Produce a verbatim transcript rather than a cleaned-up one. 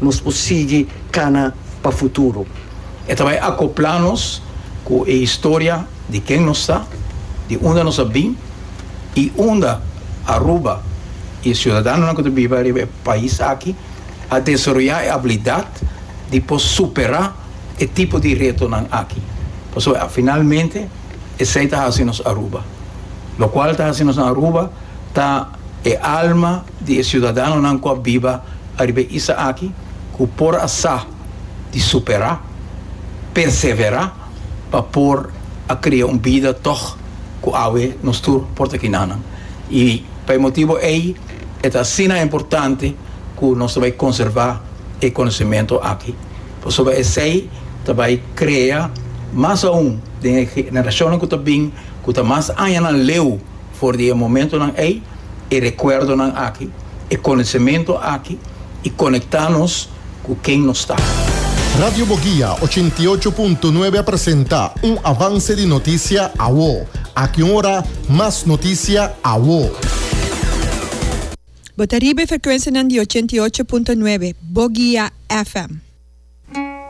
Nos por sigui kana pa futuro. E ta bai akoplá nos ku e historia di ken nos ta, di unda nos a bin i unda Aruba i e siudadanonan ku ta biba riba e pais aki a desaroyá e abilidat di por superá e tipo di retonan aki. Pasobra finalmente esei ta hasi nos Aruba. Lokual ta hasi nos na Aruba ta e alma di e siudadanonan ku a biba ariba e isla aki ku por a sa di superá, perseverá pa por a kria un bida tòg ku awe nos tur por ta kinanan. I pa e motibu ei e ta asina importante ku nos ta bai konservá e konosementu aki, pasobra esei ta bai krea mas aun den e generashonnan ku ta bin, ku ta mas añanan leu for di e momentonan ei, e rekuerdonan aki, e konosementu aki i konektá nos ku ken nos ta. Radio Boguia ochenta i ocho punto nuebe a presenta un avance di noticia Awo. Aki un ora, mas noticia Awo. Bo ta riba e frekuensianan di ochenta i ocho punto nuebe, Boguia F M.